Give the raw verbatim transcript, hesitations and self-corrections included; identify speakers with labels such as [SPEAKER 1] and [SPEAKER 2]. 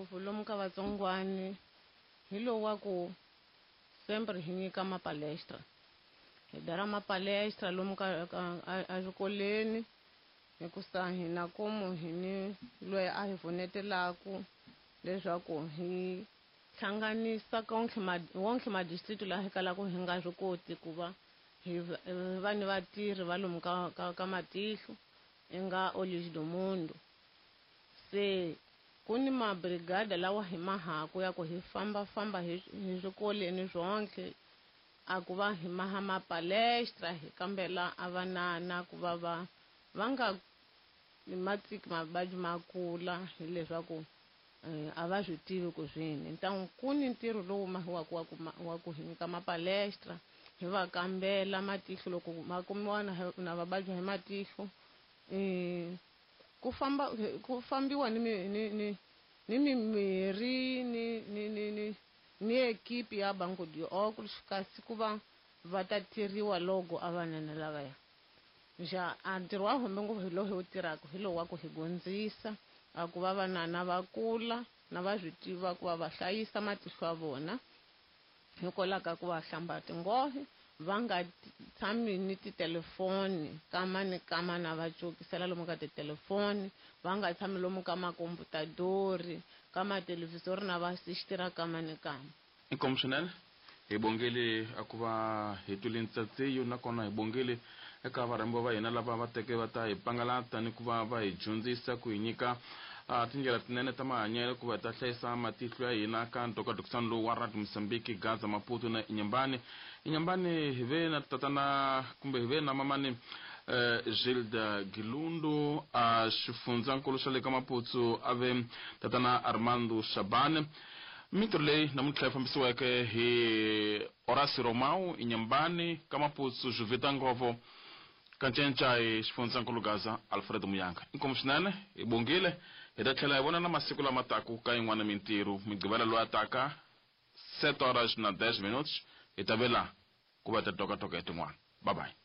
[SPEAKER 1] ngopfu lomu ka vatsongwani hi lowu wa ku sempre hi nyika mapalestra hi dara mapalestra lomu ka exikolweni hikusa hina komu hi ni loyi a hi pfunetelaku leswaku hi hlanganisa konke wonke madistrict laha hi kalaka hi nga swi koti ku va hi va ni vatirhi va lomu ka ka ka matihlo i nga Olhos do Mundo. Se ku ni mabrigada lawa hi mahaku ya ku hi fambafamba hi hi swikolweni swonke a ku va hi maha mapalestra hi kambela a vanana ku va va va nga matiki mavabyi ma kula hileswaku a va swi tivi ku swini ntangu ku ni ntirho lowu mahiwaka wa ku wa ku hi nyika mapalestra hi va kambela matihlo loko ma kumiwa na na vababyi hi matihlo ku famba ku fambiwa ni ni ni ni mimirhi ni ni ni ni ni ekipi ya Banco de Óculos kasi ku va va ta tirhiwa loko a vanana lavaya nja a ntirho wa hombe ngopfu hi lowu hi wu tirhaka hi lowu wa ku hi gondzisa a ku va vanana va kula na va swi tiva ku va va hlayisa matihlo ya vona hikwalaho ka ku va hlamba tinghohe va nga tshami ni titelefoni kama ni kama na va cokisela lomu ka titelefoni va nga tshami lomu ka makomputadori ka mathelevhizori na va sixitira kama ni kama.
[SPEAKER 2] Inkomu swinene hi bongele a ku va hi twile ntsatseyo nakona hi bongele eka varhambiwa va hina lava va teke va ta hi pangalata ni ku va va hi dyondzisa ku hi nyika tindlela tinene ta mahanyelo ku va ta hlayisa matihlo ya hina ka ntokatokisano lowu wa Radio Mozambique Gaza Maputo na Inhambane. Inhambane hi ve na tatana kumbe hi ve na mamani Gilda Gilundu a xifundzankulu xa le ka Maputo a ve tatana Armando Shabane. Mintirho leyi namuntlha yi fambisiweke hi Horacio Romao Inhambane ka Maputo Juvita Ngovo kancenca hi xifundzankulu Gaza Alfredo Muyanga. Inkomu swinene hi bongile hi ta tlhela hi vonana masiku lama taku ka yin'wana mintirho migqivela loyi a taka sete horas na dez minutos hi ta vela ku va ta tokatoka hi tin'wana. Bye bye.